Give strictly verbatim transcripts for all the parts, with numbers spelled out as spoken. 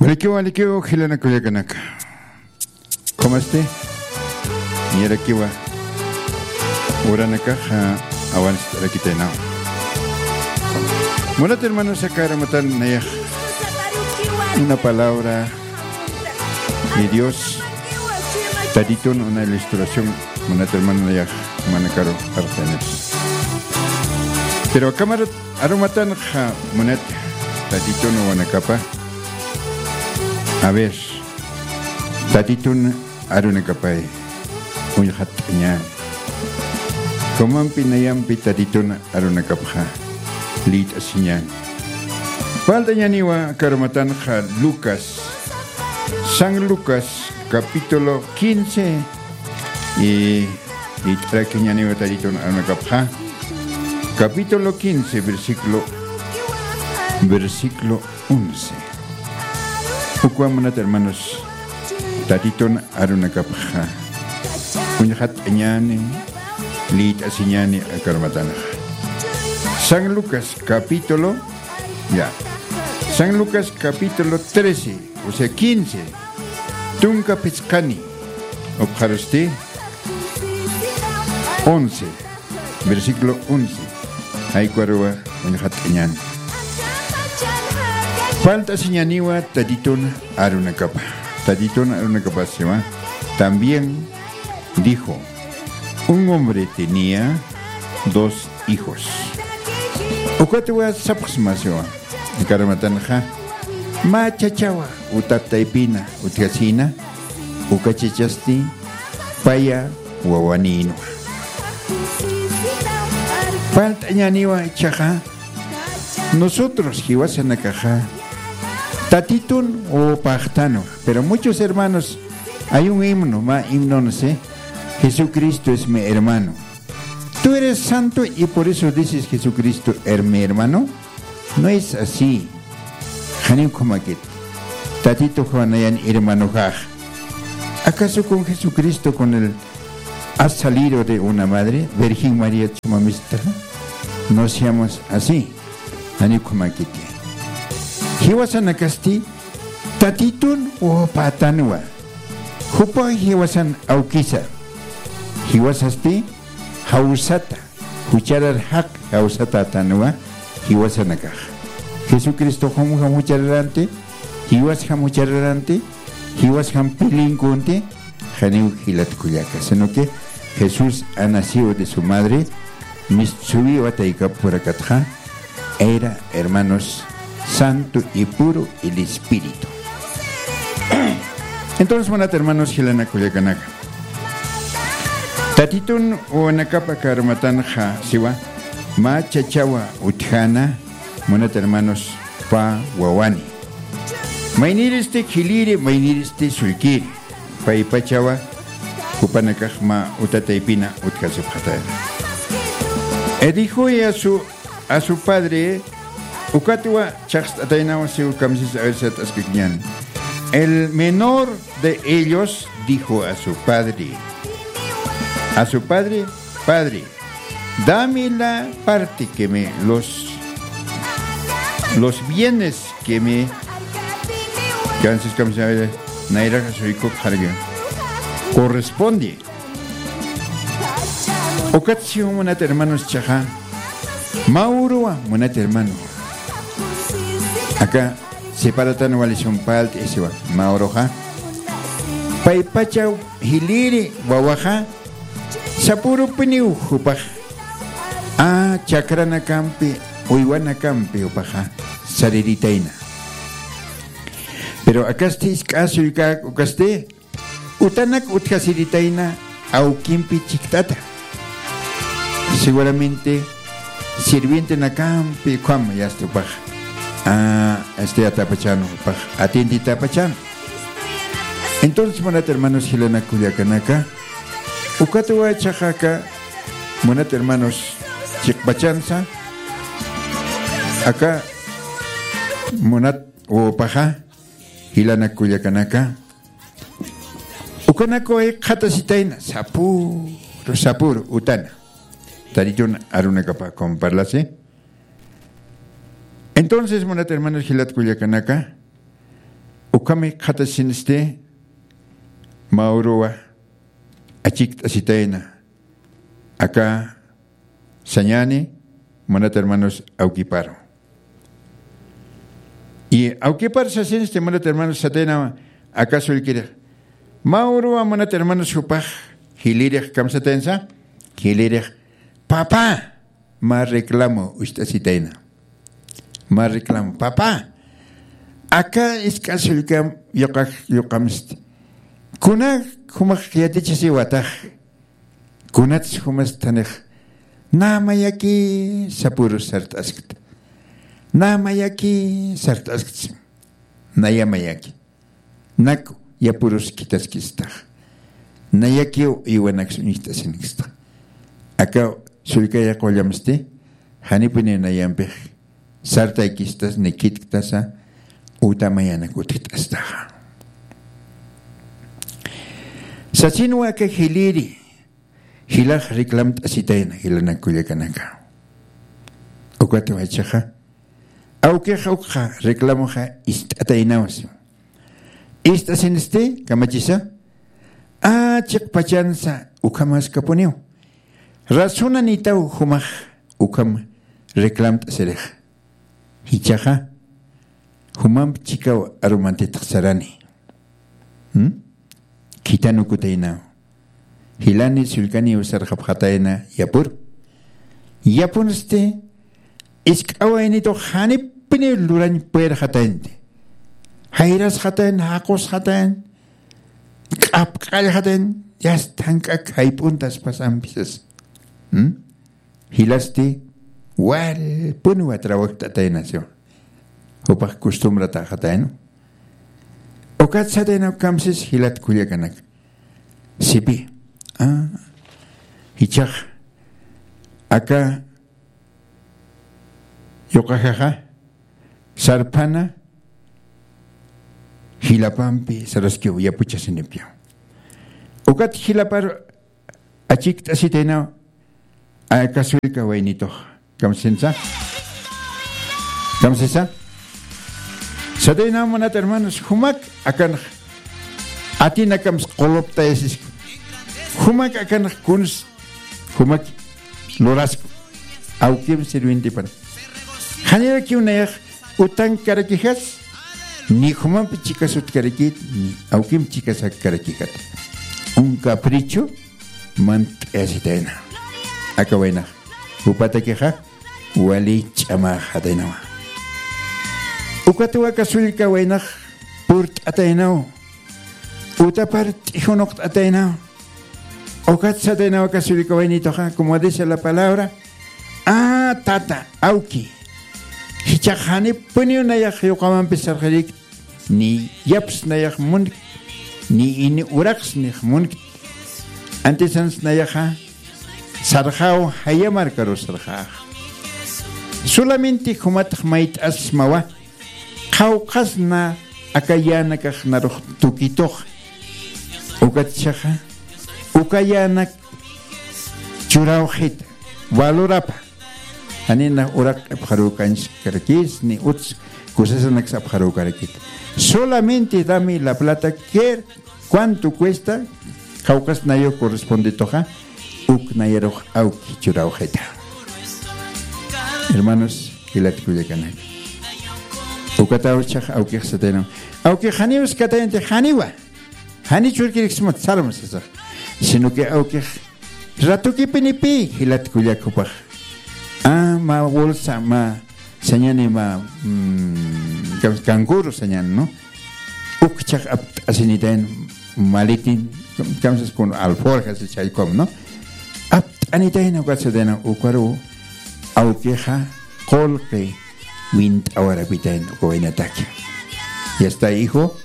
Alikiw, alikiw, jilanaka kullakanaka. ¿Cómo está? Niyarakiwa. Uranakaxa awanst'arakitaynawa. Munat hermanos, aka arumatan nayax una palabra de Dios. Tatitun una ilustración, munat hermano, nayax manakaru arxanet. Pero aka arumatan ja munat Tatitun uwanakapa. A ver, Tatitun arunakapay uñxatt'añäni. Jumampi nayampi Tatitun arunakapxa liyt'asiñäni. Faltañäniwa aka arumatanxa Lucas, San Lucas, capítulo quince, y, y liyt'arakiñäniwa Tatitun arunakapxa. Capítulo quince, versículo, versículo once. Ukwa munat hermanos, Tatitun arunakapxa uñxatt'añäni, liyt'asiñäni aka arumatanxa. San Lucas capítulo, ya. San Lucas capítulo trece, o sea, quince. Tunka phisqani, ukxarusti once, versículo once. Jaykuruwa uñxatt'añäni. Falt'asiñäniwa Tatitun arunakapa. Tatitun arunakapa siwa. También dijo: "Un hombre tenía dos hijos". Ukatwa sapxsma siwa. Aka arumatanxa, mä chachawa utat taypina utjasïna, uka chachasti paya wawanïnwa. Falt'añäniwa ichhaxa, nosotros jiwasanakaxa Tatitun wawapäxtanwa, pero muchos hermanos, hay un himno, mä himno, no sé, "Jesucristo es mi hermano". Tú eres santo y por eso dices: "Jesucristo es mi hermano". No es así. Janiw ukhamakit. Tatituxa nayan hermanoxax. ¿Acaso con Jesucristo, con él ha salido de una madre, Virgen María ch'umamista? No seamos así. Janiw ukhamakiti. Jiwasanakasti Tatitun wawapätanwa. Jupax jiwasan awkisa. Jiwasasti jawsata, jucharar jaq jawsatätanwa jiwasanakax. Jesucristoxam juchararanti, jiwasjam juchararanti, jiwasjam pilinkunti, janiw jilat kullaka, sino que Jesús ha nacido de su madre, mistsuwiwa taykap purakatxa, era, hermanos, santo y puro el espíritu. Entonces, munat hermanos, jilanaka kullakanaka, Tatitun wawanakapa aka arumatanxa siwa, mä chachawa utjäna, munat hermanos, pä wawani. Maynïristi jilïri, maynïristi sullkïri. Paypachawa jupanakax mä utat taypina utjasipxatayna. Y dijo a su, a su padre, ukatwa chhaqst'ataynawa siw kamsisa, a ver, sat'askikiñäni. El menor de ellos dijo a su padre, a su padre: "Padre, dame la parte que me, los, los bienes que me", entonces, ¿cómo se llama? Nayraxa suykup jarga corresponde. Ukat siw munat hermanos ichhaxa, mä uruwa munat hermano. Aka separatan wali sumpalt'i siwa, mä uruxa. Paypacha jilïri wawaxa, sapürupiniw jupax, a, chakranakampi, uywanakampi jupaxa sariritayna. Pero akasti jisk'a sullkäk ukasti, utanak utjasiritayna awkimpi chikt'ata. Seguramente sirvientenakampi ukham yasta jupax, a, este, atapachan, jupax atienditäpachan. Entonces, munat hermanos, jilanaka kullakanaka, ukatwa ichhaxa aka, munat hermanos, chiqpachansa, aka, munat wawapaxa, jilanaka kullakanaka, ukanakaw jikxatasitayna, sapüru, sapüru utana. Tatitun arunakapa, como parlasi. Entonces, munat hermanos, jilat kullakanaka, Ukham jikxatasinsti, mä uruwa achikt'asitayna aka sañäni, munat hermanos, awkiparu. Y awkipar sasinsti, munat hermanos, sataynawa aka sullkirix. Mä uruwa, munat hermanos, jupax jilïrix kamsataynsa, jilïrix, papá, mä reclamo ucht'asitayna. Mä reclamo, papá, aka isk'a sullkam yuqax, yuqamsti. Kuna jumax yatichasiwatax. Kunats jumas thanix, nä mayaki sapürus sart'askta. Nä mayaki sart'askta. Naya mayaki. Naku, yapürus khithaskistax. Nayakiw iwanaks uñjt'asinksta. Aka sullkaya qullamsti, janipuniw nayampix sartaykistas ni khitktasa, uta mayanak utjt'astaxa. Sasinwa aka jilïri, jilax reclamt'asitayna, jilanak kullakanaka. Ukatwa jichhaxa, awkix ukxa reclamoxa ist'ataynawa siwa. Ist'asinsti, kamachisa, a, chiqpachansa ukhamaskapuniw. Razonanitaw jumax ukham reclamt'asirix. Jichhaxa, jumamp chikaw arumantitx sarani. ¿Mm? Khithanukutaynaw. Jilani sullkaniw sarxapxatayna yapur. Yapunsti, isk'a waynitux janipuniw lurañ puyrxataynti. Jayrasxatayn, jaqusxatayn, q'apq'allxatayn, yasta jank'ak jayp'untas pasampisas. ¿Mm? Jilasti, walpuniwa trabajt'atayna siwa. Jupax costumbrataxatayna. Ukat satayna kamsis jilat kullakanak. Sipi. A, jichhax aka yuqaxaxa sarphana jilapampi saraskiw yapuchasinipya. Ukat jilapar achikt'asitaynaw aka sullka waynitux. Kamsinsa? Kamsisa? Sataynaw munat hermanos, jumak akanx atinakams quluptayasiski. Jumak akanx kuns, jumak lurasku. Awkim sirvientipar. Janirakiw nayax utankarakixas, ni jumampi chikasutkarakit, ni awkim chikasakkarakixat. Un capricho mant'ayasitayna. Aka waynax, jupatakixa, wali ch'amaxataynawa. Ukatwa aka sullka waynax purt'ataynaw. Utapar t'ijunuqt'ataynaw. Ukat sataynaw aka sullka waynituxa, como dice la palabra, a, tata, awki. Jichhax janipuniw nayax yuqamampi sarxirikti, ni yaps nayax munkti, ni ini uraqs nix munkti. Antisans nayaxa sarxaw jaya markaru sarxax. Solamente jumatax mayt'asmawa, qhawqhasna aka yänakax narux tukitux. Ukat jichhaxa, uka yänak churawxit, valorapa. Janina uraq apxarukañskarakis, ni uts kusasanaks apxarukarakit. Solamente dame la plata que cuánto cuesta, qhawqhas nayaw correspondituxa, uk nayarux awki churawxita. Hermanos, jilat kullakanaka. Ukataw jichhax awkix sataynaw. Awkix janiw iskatayanti janiwa. Jani churkiriksmat sarma sasax. Sino que awkix ratukipinipï jilat kullak jupax. A, mä bolsa, mä sañani, mä, mm, kan-, canguro sañani, ¿no? Ukchhax apt'asinitayn maletín, kamsas con alforjas, chaykom, ¿no? Apt'anitayna ukat satayna ukaru awkixa qullqi wint'awarapitayna uka waynataki. Ya está, hijo,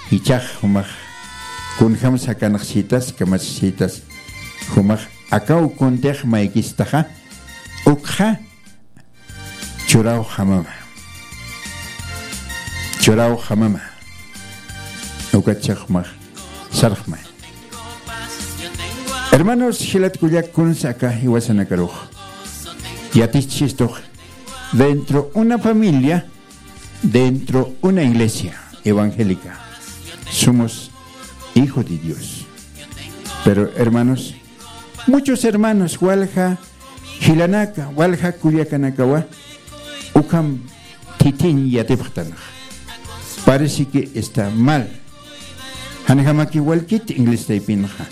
jichhax jumax kunjams jakanxsitas, kamatsxitas, jumax akaw kuntix maykistaxa, ukxa churawjamama. Churawjamama. Ukatchhax jumax sarxmay. Hermanos, jilat kullak, kunsa aka jiwasanakarux yatichistux dentro una familia, dentro una iglesia. evangélica. Somos hijo de Dios. Pero, hermanos, muchos hermanos, walja jilanaka, walja kullakanakawa, ukham thithiñ yatipxtanxa. Parece que está mal. Janjamakiw walkiti inglés taypinxa.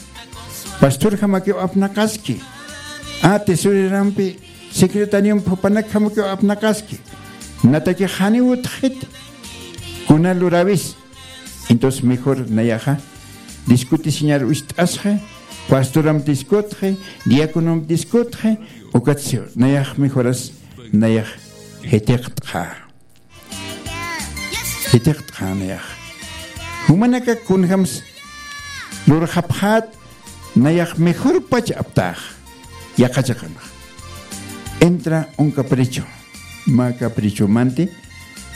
Pastorjamakiw apnaqaski. A, tesorerampi, secretariompi jupanakjamakiw apnaqaski. Natakix janiw utjxiti. Kuna luräwis. Entonces mejor nayaxa discutisiñar uñt'asxi, pastoramp discutxi, diaconomp discutxi, ukatsi nayax mejoras nayax jitiqtxa. Jitiqtxa nayax. Jumanaka kunjams lurxapxät nayax mejorpach aptäx. Yaqha chiqanxa. Entra un capricho. Mä caprichomanti,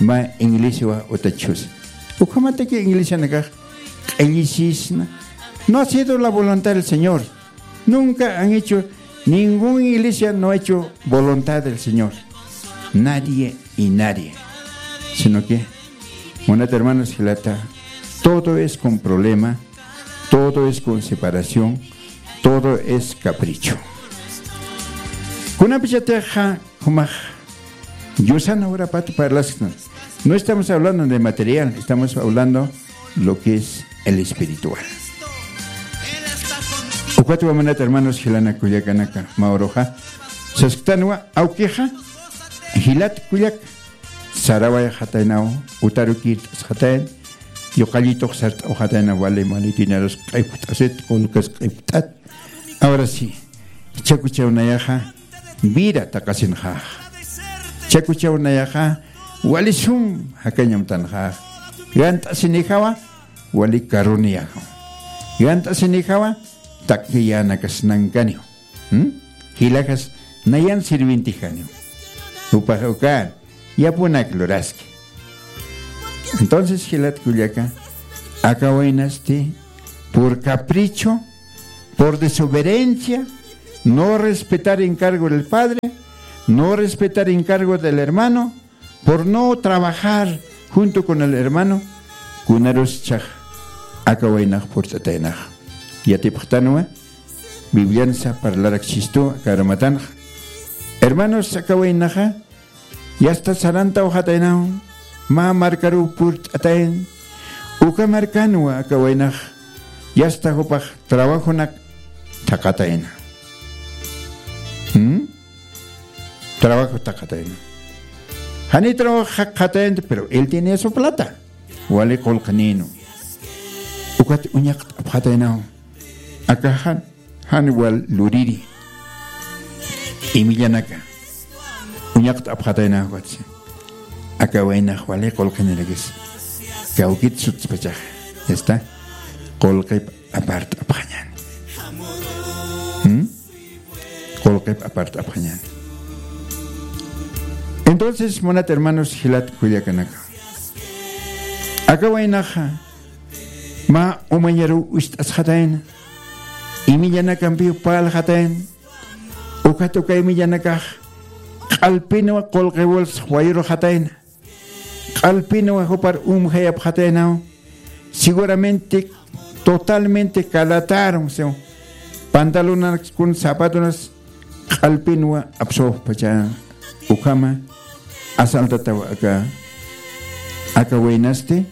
mä iglesiawa utjchus. Ukhamataki iglesianakax q'illisisna. No ha sido la voluntad del Señor. Nunca han hecho, ninguna iglesia no ha hecho voluntad del Señor. Nadie y nadie. Sino que, munat hermanos jilata, todo es con problema, todo es con separación, todo es capricho. Kunapachatixa, jumax, yusana urapat parlasktan. No estamos hablando de material, estamos hablando lo que es el espiritual. Ukatwa munat hermanos jilanaka kullakanaka, mä uruxa sasktanwa, awkixa, jilat kullak, sarawayxataynaw, utarukirt'asxatayn, yuqallitux sart'awxataynaw, wali maletinarus q'ipt'asit, qullqis q'ipt'at. Ahora sí, chakuchaw nayaxa vida taqasinxax. Chakuchaw nayaxa wali sum jakañ amtanxax. Gant'asinijawa wali carroniyajaw. Gant'asinijawa takyänakas nankaniw. ¿Mm? Jilajas nayan sirvientijaniw. Jupax ukan yapunak luraski. Entonces, jilat kullaka, aka waynasti, por capricho, por desobediencia, no respetar encargo del padre, no respetar encargo del hermano, por no trabajar junto con el hermano, kunarus chaj aka waynax purt'ataynax. Yatipxtanwa, Bibliansa parlaraksistu aka arumatanx. Hermanos, aka waynaxa, yasta sarantawxataynaw, mä markaruw purt'atayn, uka markanwa aka waynax, yasta jupax trabajonak thaqatayna. ¿Mm? Trabajo thaqatayna. Jani trabajo thaqatayna, pero él tenía su plata. Wali qullqinïnwa. Ukat uñaqt'apxataynaw. Aka jan, jan wal luriri. Imillanaka. Uñaqt'apxataynaw ukatsi. Aka waynax wali qullqinirakis. Kawkit sutspachax. Ya está. Qullqip apart'apxañäni. ¿Mm? Qullqip apart'apxañäni. Entonces, munat hermanos, jilat kullakanaka. Aka waynaxa, mä umañaruw uñt'asxatayna, imillanakampiw parlxatayna, ukat uka imillanakax q'alpinwa qullqi wals wayurxatayna, q'alpinwa jupar umjayapxataynaw, seguramente totalmente calatärum, siw pantalonas kun zapatonas q'alpinwa apsawpachä, ukhama asaltataw aka, aka waynasti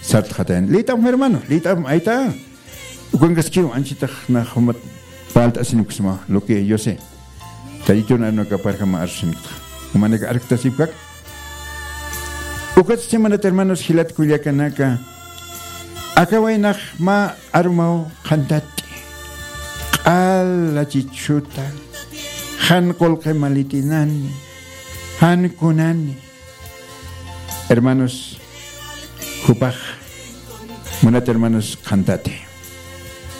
sartxatayna. Liyt'apxam hermano, liyt'apxam ayta. Ukankaskiw anchitax nax jumat parlt'asinipksma, lo que yo sé. Taytun arunakaparjama arsusinipkta. Jumanaka arktasipkak. Ukatsti munat hermanos, jilat kullakanaka. Aka waynax mä arumaw qhantat'i. Q'ala chichuta. Jan qullqi maletinani. Jan kunani. Hermanos, jupax, munat hermanos, qhantati.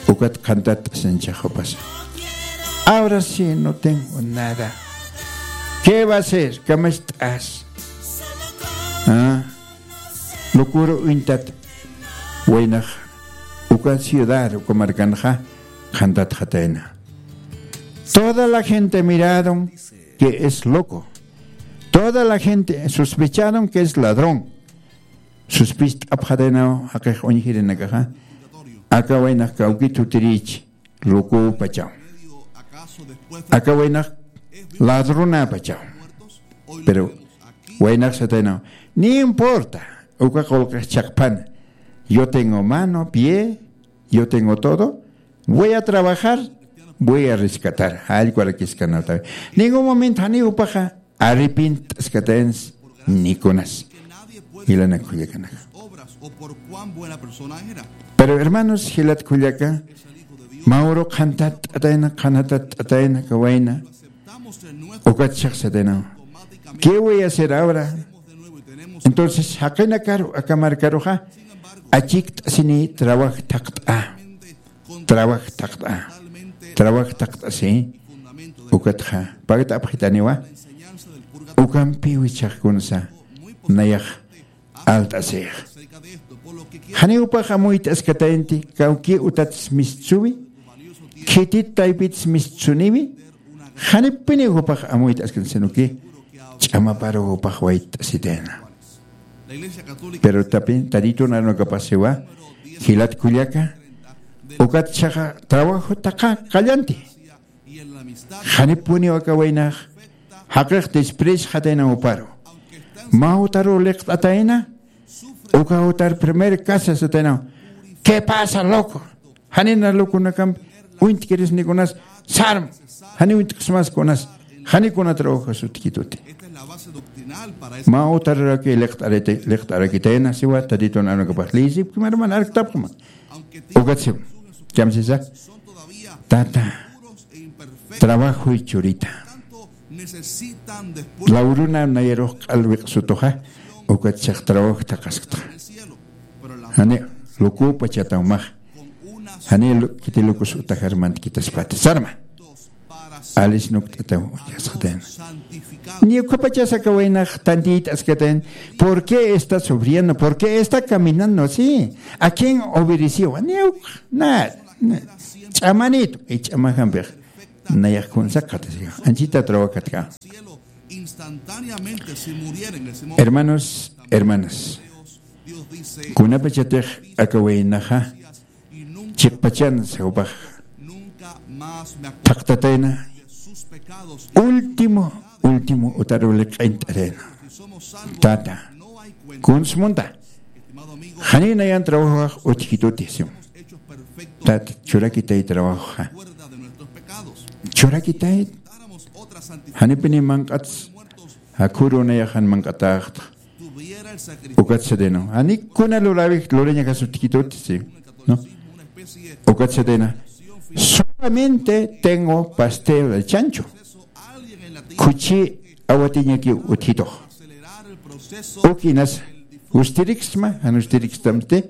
Ukat qhantat sincha jupas. Ahora sí no tengo nada. ¿Qué va a ser? ¿Qué me estás? Ah, locura uñtat. Waynax, uka ciudad, uka markanxa, qhantatxatayna. Toda la gente miraron que es loco. Toda la gente sospecharon que es ladrón. Suspist'apxataynaw jaqix uñjirinakaxa. Aka waynax kawkit jutirïchi, lukupachaw. Aka waynax ladrunapachaw. Pero waynax sataynaw, ni importa, uka qullqix chhaqphan. Yo tengo mano, pie, yo tengo todo. Voy a trabajar, voy a rescatar. Jallkwarakiskanatawi. Ningún momento janiw jupaxa arrepint'askatayansa nikunas. Jilanak kullakanaka. Pero hermanos, jilat kullaka, mä uru qhantat t'atayna, qhantat t'atayna kawayna. Ukat chhaqsatayna. ¿Qué voy a hacer ahora? Entonces jaqinakaru aka markaruxa achikt'asini trabaj thaqt'a. Trabaj thaqt'a. Trabaj thaqt'a, sí. Ukatxa pakt'apxitaniwa. Ukampiw jichhax kunsa nayax alt'asix. Janiw jupax amuyt'askatayanti, kawki utats mistsuwi, khitit taypits mistsuniwi. Janipiniw jupax amuyt'askan, sino que ch'amaparuw jupax wayt'asitayna. Pero tapi, Tatitu arunakapax siwa, jilat kullaka, ukat chhaxa trabajo thaqha qallanti. Janipuniw aka waynax jaqix despreciatayna juparu. Mä utaruw liqt'atayna, uka utar primer casa sataynaw. ¿Qué pasa, loco? Janina loconakampi uñt'kirisnikunas, sarm, jani uñt'ksmas kunas, jani kuna trabajo sutjituti. Mä utaruraki liqt'ariti-, liqt'arakitayna siwa, Tatitu arunakapax liyisipkima, hermano, arktapxma. Ukat siwa. Kamsisa. Tata, trabajoy churita. Lawruna nayarux q'al wiq'sutuxa, ukat chhax trabajo thaqhaskta. Jani, lukupachataw max. Jani lu-, kiti lukus utajar mantkitaspati. Sarma. Alis nukt'ataw, yasxatayna. Ni ukapachasa kawaynax tantiyt'askatayan. ¿Por qué está sufriendo? ¿Por qué está caminando así? ¿A quién obedeció? Ni uk-, na, na. Ch'amanit, y ch'amajampix. Nayax kunsa qhatasixa. Anchita trabajatka. Hermanos, hermanas. Kunapachatix aka waynaxa chiqpachansa jupax thaqtatayna, último, último utaruw liq'int'atayna. Tata, kuns munta. Janiw nayan trabajox utjituti, sim. Tata, churakitay trabajoxa. Churakitay. Janipini manq'ats, jakhüru nayax jan manq'atäxta. Ukat satayna. Jani kuna luräwix lurañakas utjituti, sí. ¿No? Ukat satayna. Solamente tengo pastel de chancho. Khuchi awatiñakiw utjitux. Uk inasa. Justiriksma, jan justirikstamsti.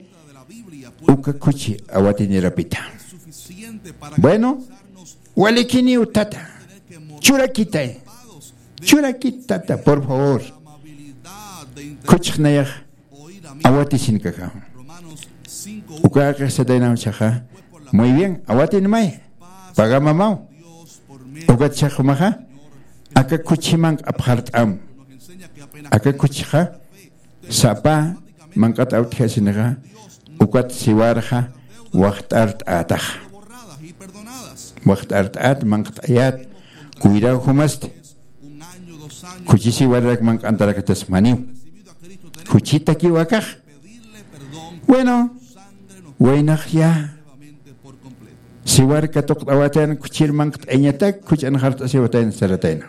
Uka khuchi awatinirapita. Bueno, walikiniw tata. Churakitay. Churakit tata, por favor. Khuchix nayax awatisïnkaxa. Uka jaqix sataynaw chhaxa. Muy bien, awatinmay. Pagamamaw. Ukat chhax jumaxa. Aka khuchi manq'apxart'am. Aka khuchixa sapa manq'at awtjasinixa, ukat siwarxa waxt'art'ätaxa. Waxt'art'ät, manq't'ayät, cuidado jumasti. Khuchi siwararak manq'antaraktasmaniw. Khuchitakiw akax. Bueno, waynax ya siwar katuqt'awatayna, khuchir manq't'ayañatak, khuch'an jart'asiwatayna saratayna.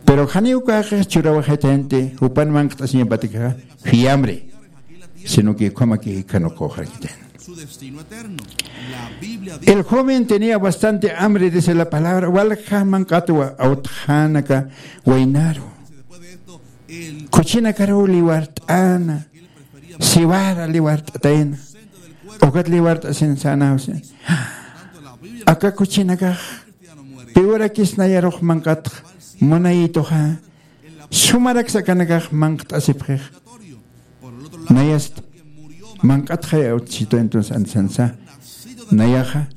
Pero janiw uka jaqix churawaxitayanti, jupan manq't'asiñapatakxa, fiambre, sino que ukhamaki jikhanuqawaxarakitayna. El joven tenía bastante hambre, dice la palabra, walja manq'atwa awtxänaka waynaru. Khuchinakaruw liwart'äna, siwara liwart'atayna, ukat liwart'asin sänawsi. Aka khuchinakax piwrakis nayarux manq'atx munayituxa, sumaraksa akanakax manq't'asipxix. Nayast manq'atxay awtchitu, entonces ansansa nayaxa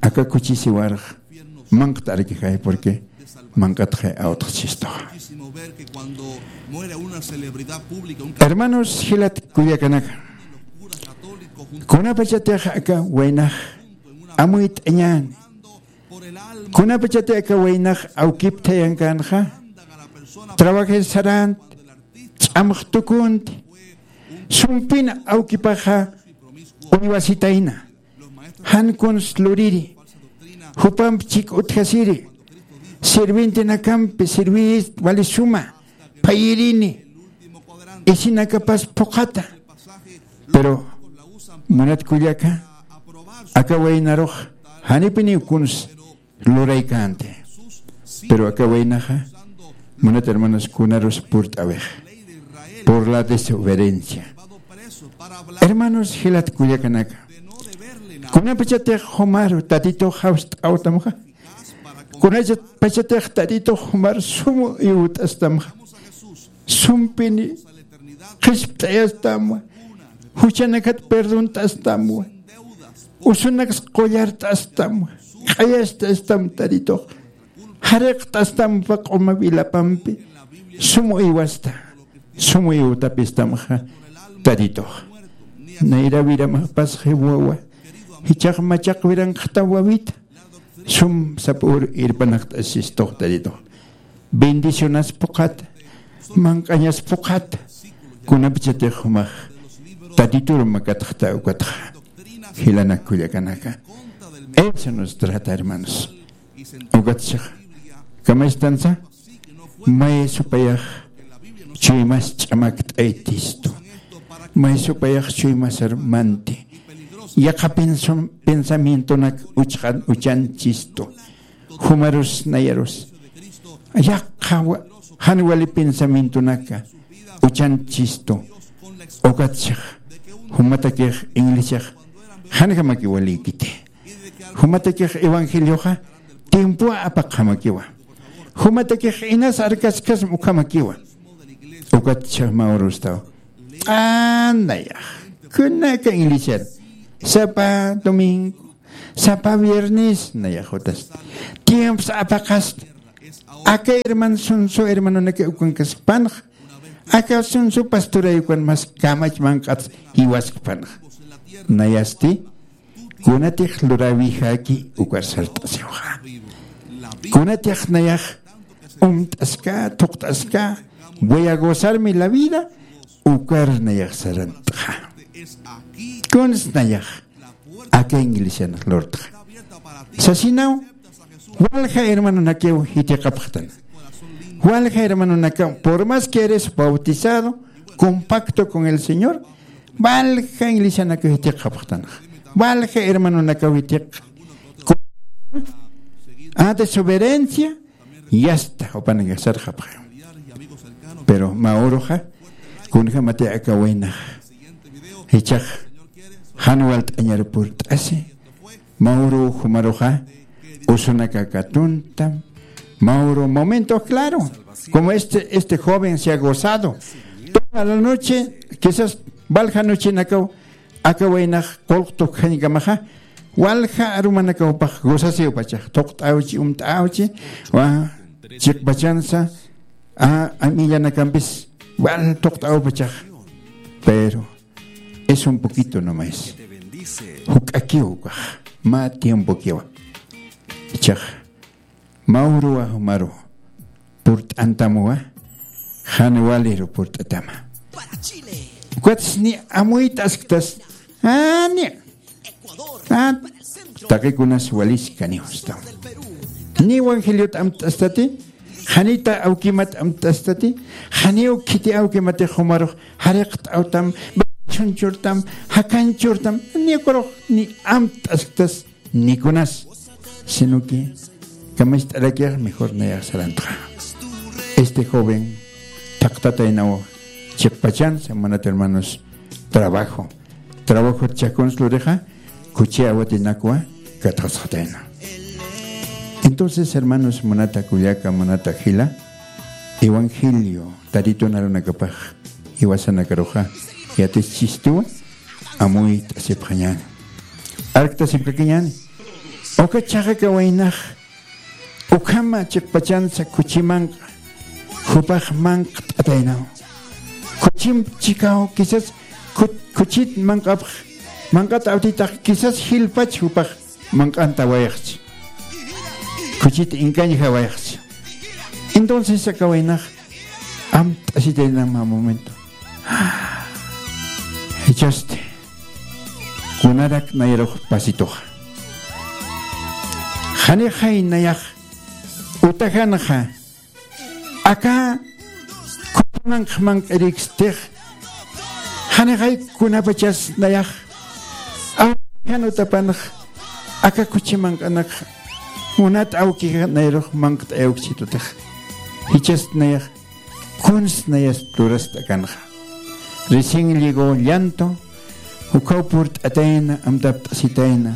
aka khuchi siwarx manq't'arakixay, porque manq'atxa awtxchistuxa. Hermanos jilat kullakanaka, kunapachatix aka waynax amuyt'añäni, kunapachatix aka waynax awkipthayankänxa, trabajir saränti, ch'amx tukunti, sumpin awkipaxa uywasitayna, jan kuns luriri, jupamp chik utjasiri, sirvientenakampi sirviyist wali suma, phayirini, isinakapas phuqhata. Pero munat kullaka, aka waynarux janipiniw kuns luraykänti. Pero aka waynaxa, munat hermanos, kunarus purt'äwix, por la desobediencia. Hermanos jilat kullakanaka, kunapachatix jumar Tatitux jawst'awtamxa, kunapachatix Tatitux jumar sum iwt'astamxa, sumpini qhispt'ayastamwa, juchanakat perdont'astamwa, usunaks qullart'astamwa, q'ayast'astam Tatitux, jariqt'astampa q'uma wilapampi, sum iwasta, sum iwtapistamxa Tatitux. Nayra wiramapas jiwawa, jichhax machaq wiranxta wawita, sum sap'ür irpanaqt'asistux Tatitux. Bendicionas phuqhata, manq'añas phuqhata, kunapachatix jumax Tatitur makatxta ukatxa. Jilanak kullakanaka, eso nos trata, hermanos. Ukatsa, kamastansa, may supayax chuymas ch'amakt'aytistu, may supayax chuymasar manti, yaqha pensam-, pensamientonak uchxan-, uchanchistu, jumarus nayarus, yaqha wa-, jan wali pensamientonaka uchanchistu, ukatsa, jumatakix iglesiax, janjamaki walïkiti. Jumatakix evangelioxa tiempowa apaqjamakiwa. Jumatakix inas arkaskasm ukhamakiwa. Ukatsa mä urustaw. Q'an nayax. Kunaka iglesiar. Sapa domingo, sapa viernes nayax jutasta. Tiempos apaqasta. Aka hermano sunsu hermanonaka ukankaskpanx. Aka sunsu pastoray ukan mas kamach manq'ats jiwaskpanx. Nayasti, kunatix luräwixäki ukar sart'asiwxa. Kunatix nayax umt'aska, thuqt'aska, voy a gozarme la vida, ukar nayax sarantxa. Kuns nayax aka iglesian lurtxa. Sasinaw, walja hermanonakiw jitiqapxtan. Walja hermanonakaw, por más que eres bautizado, con pacto con el Señor, walja iglesianakaw jitiqapxtan. Walja hermanonakaw jitiq. A desobediencia, yasta, jupanakax sarxapxi. Pero mä uruxa, kunjamati aka waynax jichhax jan walt'añar purt'asi, mä uru jumaruxa usunaka katuntam, mä uru momento claro, como este, este joven se ha gozado toda la noche, quizás walja noche nakaw, aka waynax qullq tukjañkamaxa, walja arumanakaw pax gozasiw pachax, thuqt'awchi, umt'awchi, wa, chiqpachansa, a, amillanakampis, wal thuqt'aw pachax. Pero es un poquito nomás. Juk'akiw ukax, mä tiempokiwa. Jichhax, mä uruwa jumaru purt'antamwa, jan waliru purt'atama. Ukatsti amuyt'asktas, a, ni, a, taqikunas waliskaniw usta. Ni evangeliot amt'astati, janita awkimat amt'astati, janiw khiti awkimati jumarux jariqt'awtam, chunchurtam, jakanchurtam, ni ukarux ni amt'asktas, ni kunas, sino que kamacht'arakix mejor nayax sarantxa. Este joven thaqtataynaw chiqpachansa, munat hermanos, trabajo. Trabajo chhakuns lurixa, kuchi awatinakwa katxasxatayna. Entonces, hermanos, munata kullaka, munata jila, evangelio, Tatitun arunakapax jiwasanakaruxa yatischistuwa, amuyt'asipxañäni. Arkt'asipkakiñäni. Uka chhaqa waynax Ukhama chiqpachansa khuchi manq'a, jupax manq't'ataynaw. Khuchim chikaw, quizás khu-, khuchit manq'apx, manq'at awtitax, quizás jilpach jupax manq'antawayxchi. Khuchit inkañjawayxchi. Entonces aka waynax amt'asitayna mä momento. Jichhasti kunarak nayarux pasituxa. Janixay nayax utajanxa aka khuchi manq'a manq'irikstix, janixay kunapachas nayax awkijan utapanxa aka khuchi manq'anakxa munat awkijan nayarux manq't'ayawkchitutix. Jichhasti nayax kuns nayas lurast'akanxa. Recién llegó llanto, ukhaw purt'atayna, amtapt'asitayna.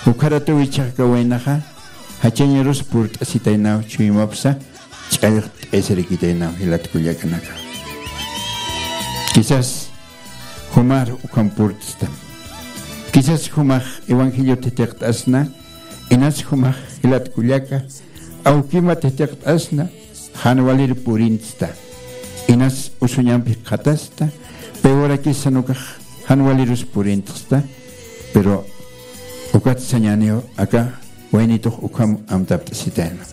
Ukharatuw jichhax aka waynaxa jachañarus purt'asitaynaw, chuymapsa ch'allxt'aysarikitaynaw jilat kullakanaka. Quizás jumar ukham purt'stam. Quizás jumax evangelio thithiqt'asna, inas jumax jilat kullaka awkimat thithiqt'asna, jan walir purintsta. Inas usuñampi jikxatasta, peorakisan ukax jan walirus purintxsta, pero ukat sañäniw aka waynitux ukham amtapt'asitayna.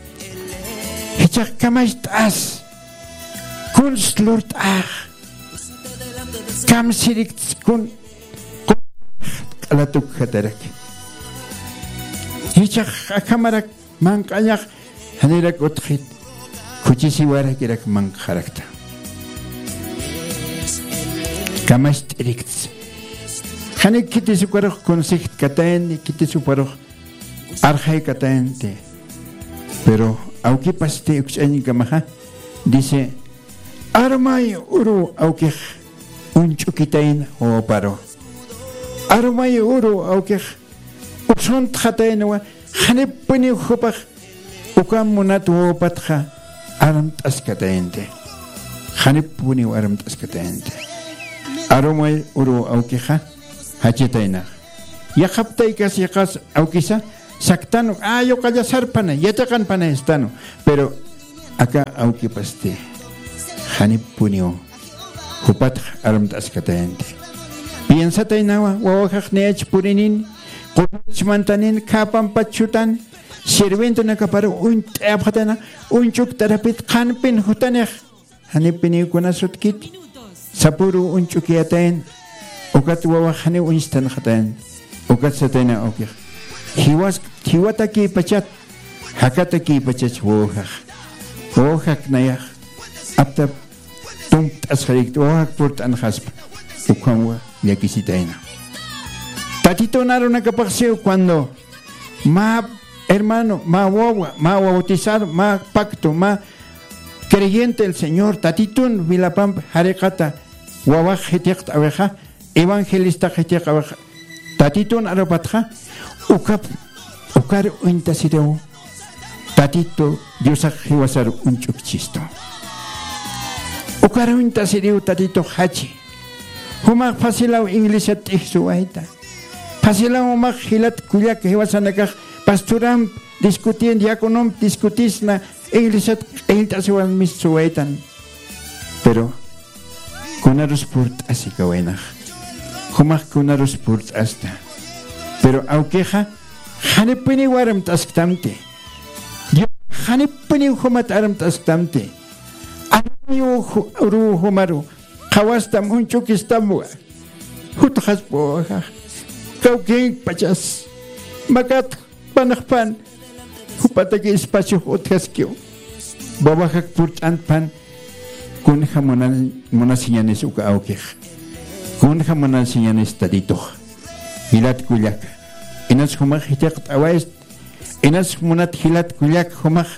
Jichhax kamacht'as, kuns lurt'ax, kamsirikts kun, q'alatukjataraki. Jichhax akhamarak manq'añax, janirak utjit, khuchisiwarakirak manq'xarakta. Kamacht'irikts. Janik khitis ukarux consejt katayanti, khitis ukarux arxay katayanti. Pero awkipasti ukch'añkamaxa, dice, arumay uru awkix uñch'ukitayna wawaparu. Arumay uru awkix usuntxataynwa, janipuniw jupax uka munat wawapatxa armt'askatayanti. Janipuniw armt'askatayanti. Arumay uru awkixa jachataynax. Yaqhaptaykas yaqas awkisa saktanu, a, yuqalla sarpana, yatiqanpana istanu. Pero aka awkipasti janipuniw jupatx armt'askatayanti. Piensataynawa, wawajax niyach purinin, qurach mantanin, khäpampach chutan, sirvientunakaparu uñt'ayapxatayna, uñch'uktarapit qhanpin jutanix, janipiniw kunasutkit, sapüru uñch'ukiyatayan, ukat wawax janiw uñstanxatayan, ukat satayna awkix. Jiwas, jiwatakïpachat, jakatakïpachach wawajax. Wawajak nayax, aptap tumpt'asxarikta, wawajak purt'anxaspa, ukhamwa llakisitayna. Tatitun arunakapaxsiw cuando mä hermano, mä wawa, mä bautizado, mä pacto, mä creyente el Señor, Tatitun wilapamp jariqata wawax jithiqt'awixa, evangelista jithiqawixa, Tatitun arupatxa, ukap, ukar uñtasiriw, Tatitu Diosax jiwasar uñch'ukchistu. Ukar uñtasiriw Tatitux jachi. Jumax fasilaw iglesiat t'ijsuwayta. Fasilaw jumax jilat kullak jiwasanakax pastoramp discutin, diaconomp discutisna, iglesiat q'illt'asiwan mis suwaytan. Pero kunarus purt'asi kawaynax. Jumax kunarus purt'asta. Pero awkixa, janipuniw armt'asktamti. Dios, janipuniw jumat armt'asktamti. Armayu ju-, uru jumaru, qhawastam uñch'ukistamwa. Jutxaspa wawajax. Kawkïpachas. Makat panxpan, jupataki espacio utjaskiw. Wawajak purt'antpan, kunja munan-, munasiñanis uka awkix. Kunja munasiñanis Tatitux. Jilat kullak. Inas jumax jithiqt'awayst, inas munat jilat kullak jumax,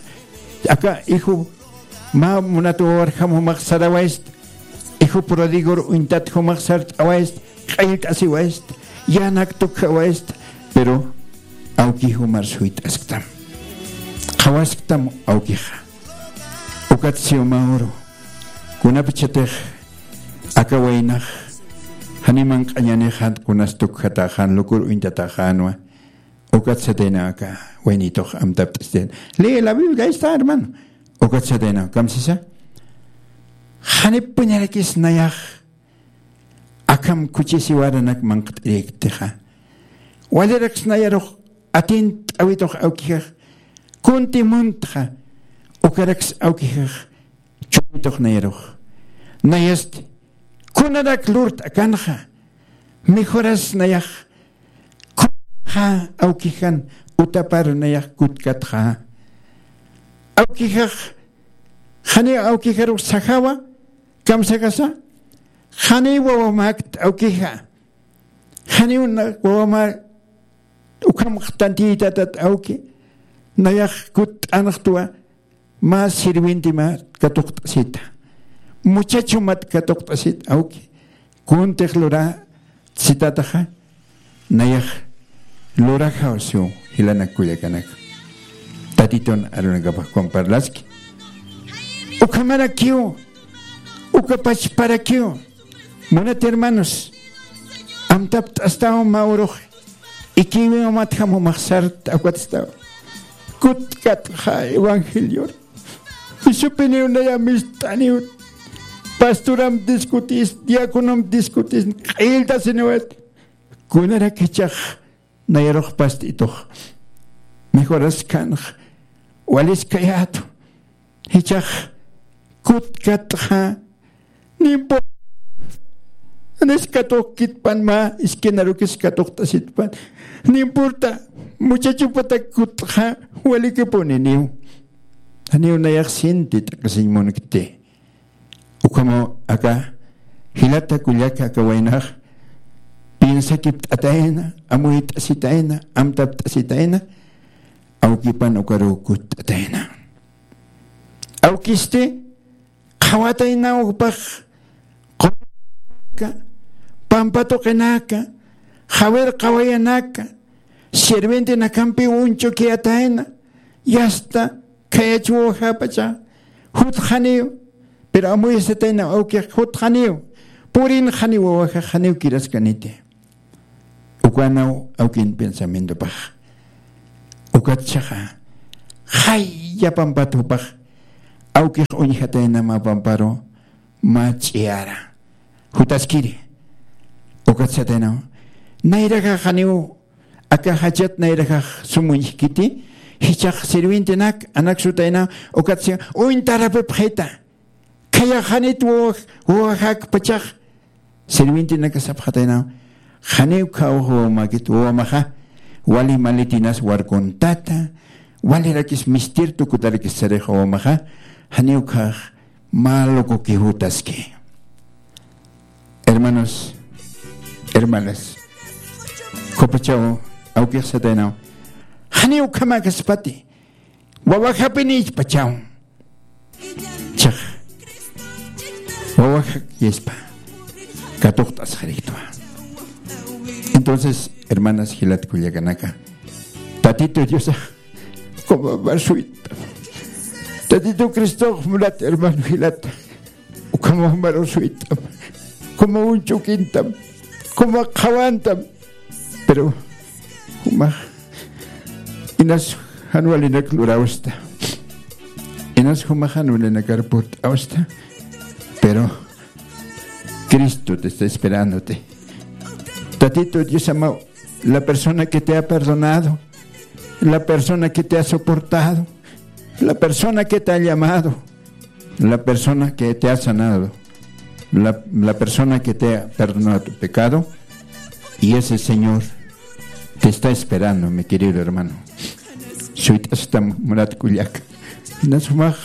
aka iju mä munat wawarjam jumax sarawayst, iju prodigor uñtat jumax sart'awayst, q'illt'asiwayst, yänak tukjawayst, pero awki jumar suyt'asktam. Qhawasktam awkixa. Ukat siw mä uru. Kunapachatix aka waynax, jani manq'añanixan kunas tukjatäxan, lukur uñtatäxänwa. Ukat sataynaw aka waynitux amtapt'asitayna. Lee la Biblia, ahí está, hermano. Ukat sataynaw, kamsisa. Janipunirakis nayax akham kuchisiwaranak manq't'irïktixa. Waliraks nayarux atint'awitux awkixax. Kunti muntxa. Ukaraks awkixax. Churïtux nayarux. Nayasti. Kunarak lurt'akanxa. Mejoras nayax. Kunxa awkixan utaparu nayax kutkatxa. Awkixax, janiw awkixarux sajawa, kamsakasa, janiw wawamäkt awkixa. Janiw na-, wawamä ukham tantiytatat awki, nayax kutt'anxtwa, mä sirviente mä katuqt'asita. Muchacho mä katuqt'asita, awki. Kuntix lura, sitataxa, nayax lurajaw siw jilanak kullakanak. Tatitun arunakapax comparlaski. Ukhamarakiw, uka pachparakiw. Munat hermanos, amtapt'astaw mä urux, ikiwi umatjam umax sarta ukat staw. Kutkatxa evangelior. Jisupiniw naya mist'aniw. Pastoram discutis, diaconom discutis, q'illtasiniwat. Kunarak jichhax nayarux past'itux. Mejoras kanx, walis kayätu. Jichhax kutkatxa, no importa. Janis katuqkitpan mä, esquinarukis katuqt'asitpan. No importa, muchachopatak kutxa, walikipuniniw. Janiw nayax sinti t'aqhisiñ munkti. Ukhamaw aka, jilata kullaka aka waynax, piensakipt'atayna, amuyt'asitayna, amtapt'asitayna, awkipan ukaruw kutt'atayna. Awkisti, qhawataynaw jupax, q'umaka, pampa tuqinaka, jawir qhawayanaka, sirvientenakampiw uñch'ukiyatayna, yasta, khayach wawajapacha, jutxaniw, pero amuyasataynaw awkix jutxaniw, purinxaniw wawajax janiw kiraskaniti. Ukanaw awkin pensamientopax. Ukat jichhaxa, jaya pampat jupax, awkix uñjatayna mä pamparu, mä ch'iyara. Jutaskiri. Ukat sataynaw. Nayrajax janiw, aka jachat nayrajax sum uñjkiti, jichhax sirvientenak, anak sutaynaw, ukat si, uñtarapipxita. Khayaxanit wawa-, wawajakpachax, sirvientenaka sapxataynaw, janiw khaw wawamäkit wawamaxa, wali maletinas warkuntata, walirakis mister tukutarakis sarix wawamaxa, janiw khax mä locoki jutaski. Hermanos, hermanas, qhupachaw awkix sataynaw, janiw ukhamäkaspati, wawajapinïchpachaw. Chax. Wawajak yaspa. Katuqt'asxariktwa. Entonces, hermanas, jilat kullakanaka. Tatito Diosax, como amar suytam. Tatito Cristox mulat, hermano, jilat. Ukhamaw amar suytam. Como uñch'ukintam. Como qhawantam. Pero, jumax, inas jan walinak lurawsta. Inas jumax jan walinakar purt'awsta. Pero Cristo te está esperándote. Tatito Dios amado, la persona que te ha perdonado, la persona que te ha soportado, la persona que te ha llamado, la persona que te ha sanado, la, la persona que te ha perdonado tu pecado, y ese Señor te está esperando, mi querido hermano. Suyt'astam mulat kullaka. Inas jumax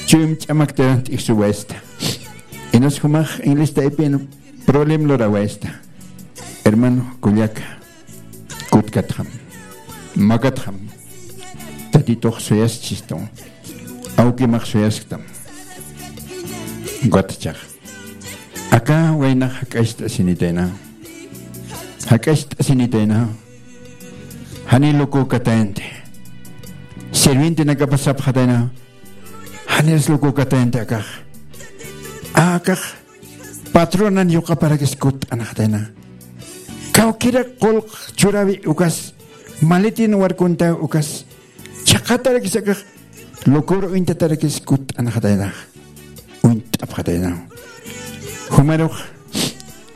chuyma ch'amaktaran t'ijsuwaysta. Inas jumax inglistaypin problem lurawaysta. Hermano kullaka. Kutkatxam, makatxam, Tatitux suyaschistam, awkimax suyasktam. Ukatchax. Aka waynax jak'acht'asinitayna. Jak'acht'asinitayna. Jani locukatayanti. Sirvientenakapas sapxatayna. Janis locukatayanti akax. Akax. Patronan yuqaparakis kutt'anxatayna. Kawkirak qullq churawi ukas Maletin warkunta ukas. Chhaqatarakis akax. Locor uñtatarakis kutt'anxataynax. Uñt'apxataynaw. Jumarux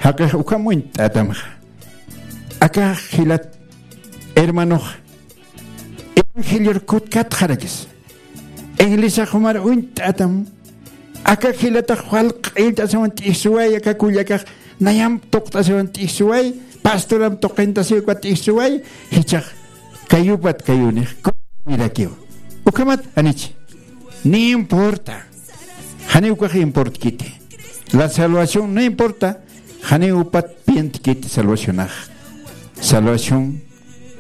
jaqix ukham uñt'atamxa. Akax jilat hermanox evangelior kutkatxarakis. Iglesia jumar uñt'atam. Aka jilatax wal q'illt'asiwan t'ijsuway, aka kullakax nayam tuqt'asiwan t'ijsuway, pastoram tuqintasiw uka t'ijsuway, jichhax kayupat kayunix, kuyirakiw. Ukhamat janich. Ni importa. Janiw ukax importkiti. La salvación no importa. Janiw upat pientkiti salvacionax. Salvación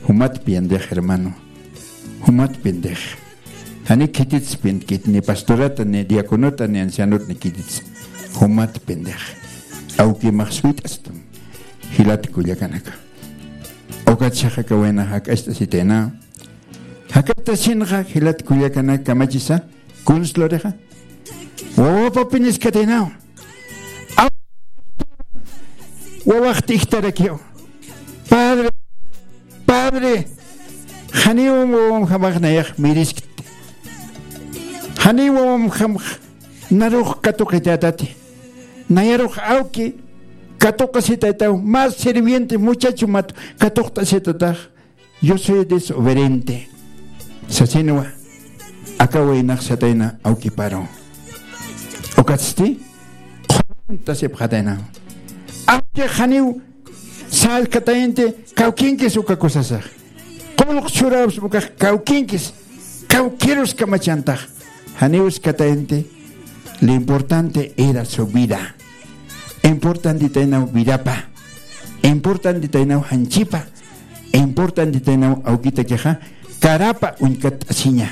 jumat piendix, hermano. Jumat piendix. Jani khitits pientkit, ni pastorata, ni diaconota, ni ancianot, ni khitits. Jumat piendix. Awkimax suyt'astam. Jilat kullakanaka. Ukat chhaqakawayna jak'acht'asitayna. Jak'acht'asinxa jilat kullakanaka kamachisa. Kunslurixa. Wawapapiniskataynaw. Aw-, wawax t'ijtarakiw. Padre, padre, janiw wawamjamax nayax miriskti. Janiw wawamjamax narux katuqitätati. Nayarux awki katuqasitaytaw, más sirviente muchacho mat katuqt'asitatax. Yo soy desobediente. Sasinwa. Aka waynax satayna awkiparu. Ukatsti qhuntasipxatayna. Awki janiw sallkatayanti kawkinkis uka kusasax. Qullq churaps ukax kawkinkis. Kawkirus kamachantax. Janiw uskatayanti. Lo importante era su vida. Importantitaynaw vidapa. Importantitaynaw janchipa. Importantitaynaw awkitakixa karapa uñkatt'asiña.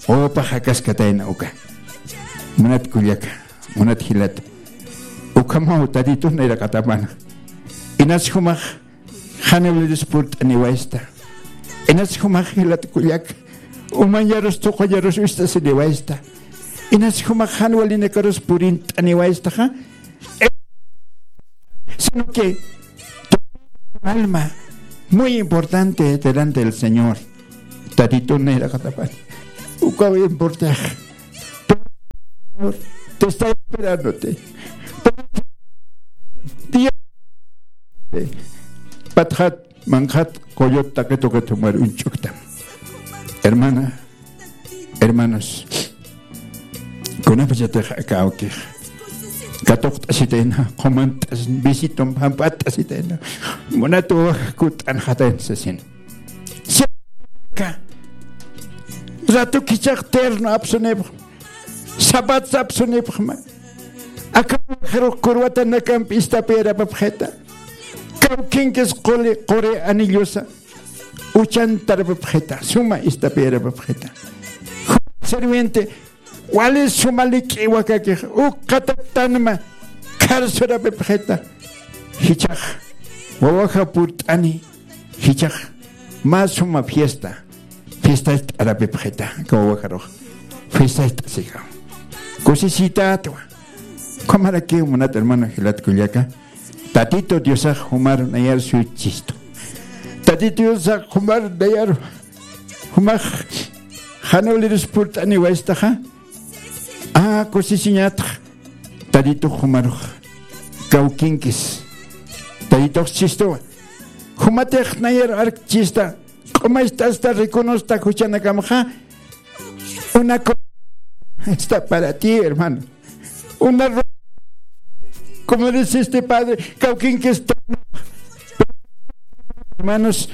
Wawapa jakaskatayna uka. Munat kullaka, munat jilata. Ukhamaw Tatitun nayraqatapana. Inas jumax jan walirus purt'aniwaysta. Inas jumax jilat kullaka. Umañarus tuquñarus uñt'asiniwaysta. Inas jumax jan walinakarus purint'aniwaystaxa. Sino que tu alma muy importante delante del Señor. Tatitun nayraqatapan. Ukaw importax. Te está esperándote. Día. Patxat, manqhat, qullqt, taqi tuqit jumar uñch'uktam. Hermana, hermanos, kunapachatix aka awkix katuqt'asitayna, qumant'as, visitum jamp'att'asitayna, munat wawax kutt'anxatayna sasin. Aka ratu kichax terno apsunipxma, zapatos apsunipxma. Aka wawaxarux curbatanakamp istapiyarapapxita. Kawkinkis quli, quri anillosa. Uchantarapapxita, suma istapiyarapapxita. Sirviente, wali suma lik'i wakakix, uk qatatanma, kharsurapapxita. Jichhax, wawaxa purt'ani, jichhax, mä suma fiesta, fiestacht'arapapxita, aka wawaxarux, fiestacht'asixam. Kusisitätwa. Ukhamarakiw munat hermano jilat kullaka. Tatito Diosax jumar nayar suychistu. Tatito Diosax jumar nayar jumax jan walirus purt'aniwaystaxa. A, kusisiñatx. Tatito jumarux kawkinkis. Tatitox chistuwa. Jumatix nayar arkchista. Q'umacht'asta, rikunusta juchanakamxa. Una co-, está para ti, hermano. Una ro-, como dice este padre, kawkinkis, hermanos,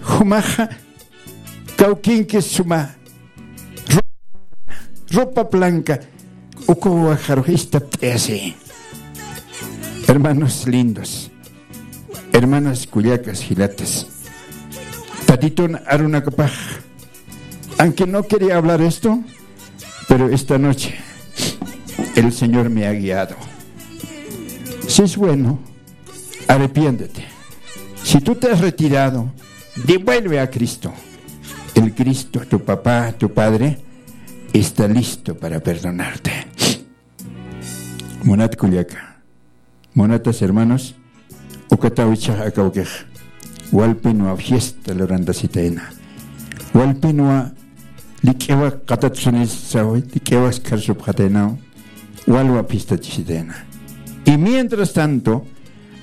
jumaxa, kawkinkis suma. Ro-, ropa blanca, uka wawaxarux istapt'ayasi. Hermanos lindos, hermanas kullakas jilatas, Tatitun arunakapax, aunque no quería hablar esto, pero esta noche el Señor me ha guiado. Si es bueno, arrepiéntete. Si tú te has retirado, devuelve a Cristo. El Cristo, tu papá, tu padre, está listo para perdonarte. Munat kullaka, munatas hermanos, ukataw jichhax aka awkix walpinwa fiesta lurantasitayna. Walpinwa lik'iwa qatatsunisa, lik'iwa karsupxataynaw, walwa fiestachisitayna. Y mientras tanto,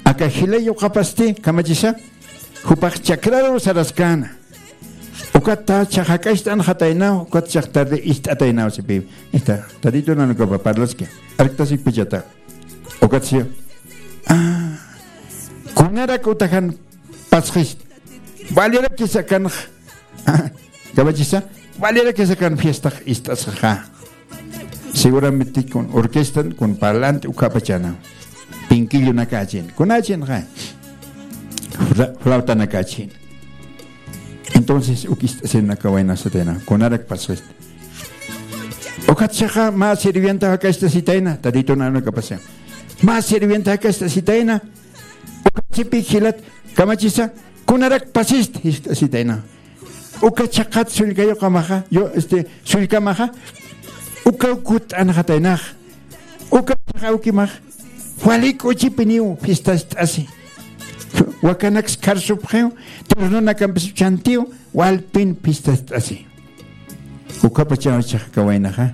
aka jilay yuqapasti kamachisa, jupax chakraru saraskäna. Ukat chhaxa jak'acht'anxataynaw, ukat chhax tarde ist'ataynaw sipi. Esta, tatitu nanukapa parlaski. Arktasipkichata. Ukat siw. Ah, kunarak utajan pasxist. Valerakisa kanx. Kamachisa, valerakisa kan fiestax ist'asxaxa. Seguramente kun orquestan, kun parlante, ukapachana. Pinkillunakachin. Kunachinxa. Fla-, flautanakachin. Entonces, uk ist'asinaka waynasatayna. Kunarak pasxist. Ukat chhaxa mä sirvienta jak'acht'asitayna. Tatitu nanukapasa. Mä sirvienta jak'acht'asitayna. Ukat sipi jilat kamachisa, kunarak pasist, jiskt'asitayna. Uka chhaqat sullka yuqamaxa, yo, este, sullkamaxa, uka kutt'anxataynax. Uka chhaxa awkimax, wali k'uchipiniw fiestast'asi. Wakanaks karsupxiw, turnunakampis uchantiw, walpin fiestast'asi. Ukapachaw chhaxa aka waynaxa,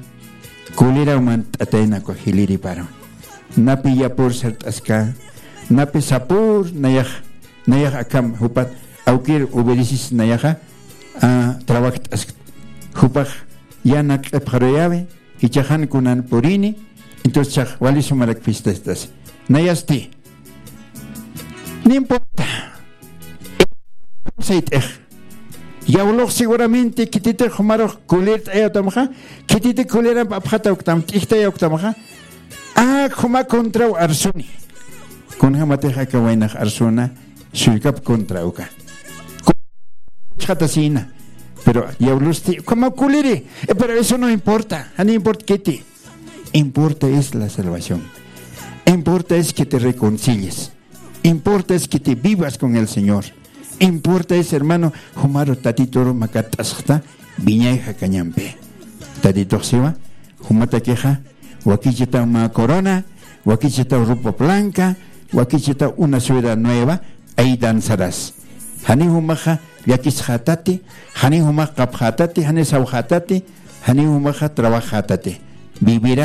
kuliraw mant'atayna uka jiliriparu. Napi yapur sart'aska, napi sapur nayax, nayax akham jupat awkir obedecis nayaxa, a, trabajt'ask. Jupax yana q'ipxaruyawi, jichhaxan kunan purini, entonces chhax wali sumarak fiestast'asi. Nayasti. No importa. Sayt'ix. Yawlux seguramente khititix jumarux kulirt'ayawtamxa, khititix kuliramp apxatawktam, t'ijtayawktamxa. A, juma contraw arsuni. Kunjamatix aka waynax arsuna, sullkap contra uka. Chhatasina. Pero yawlusti, como kuliri. Eh, pero eso no importa. Jani importa kiti. Importa es la salvación. Importa es que te reconcilies. Importa es que te vivas con el Señor. Importa es, hermano, jumaru tatituru makat'asxta, viñay jakañampi. Tatitux siwa, jumatakixa, wakichitaw mä corona, wakichitaw ropa blanca, wakichitaw una suela nueva, ay danzarás. Jani jumaxa llakisxatati, jani jumax qapxatati, jani sawxatati, jani jumaxa trabajatati. Vivirá